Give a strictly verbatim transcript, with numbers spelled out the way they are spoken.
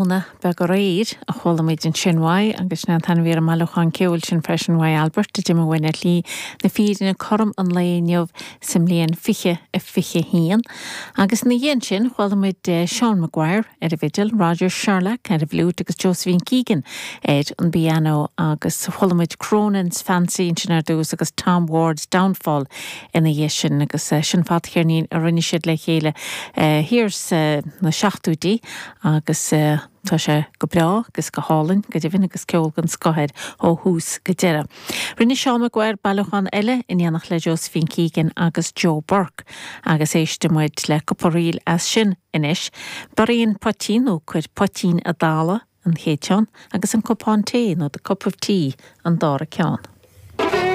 Tráthnóna beag aréir a chuala muid ansin uaidh agus sin an t-ainm a bhí ar an mbailiúchán ceoil sin freisin uaidh Albert a d'imigh uainn ar shlí na fírinne cothrom an lae inniu sa mbliain fiche a fiche haon. Agus ina dhiaidh sin chuala muid Seán Maguire ar an bhfidil, Roger Sherlock ar an bhfliúit agus Josephine Keegan ar an bpianó agus chuala muid Cronin's Fancy ansin ar dtús agus Tom Ward's Downfall ina dhiaidh sin agus sin fadcheirnín a rinne siad le chéile thiar sna seachtóidí agus tá sé go breá agus go hálainn go deimhin agus ceol den scoth air ó thús go deireadh. Rinne Seán Maguire bailiúchán eile in éineacht le Josephine Keegan agus Joe Burke agus éistfidh muid le cúpla ríl as sin anois. Bury an Poitín nó Cuir Poitín i dTalamh an chéad cheann agus an Cupán Tae nó The Cup of Tea an dara ceann.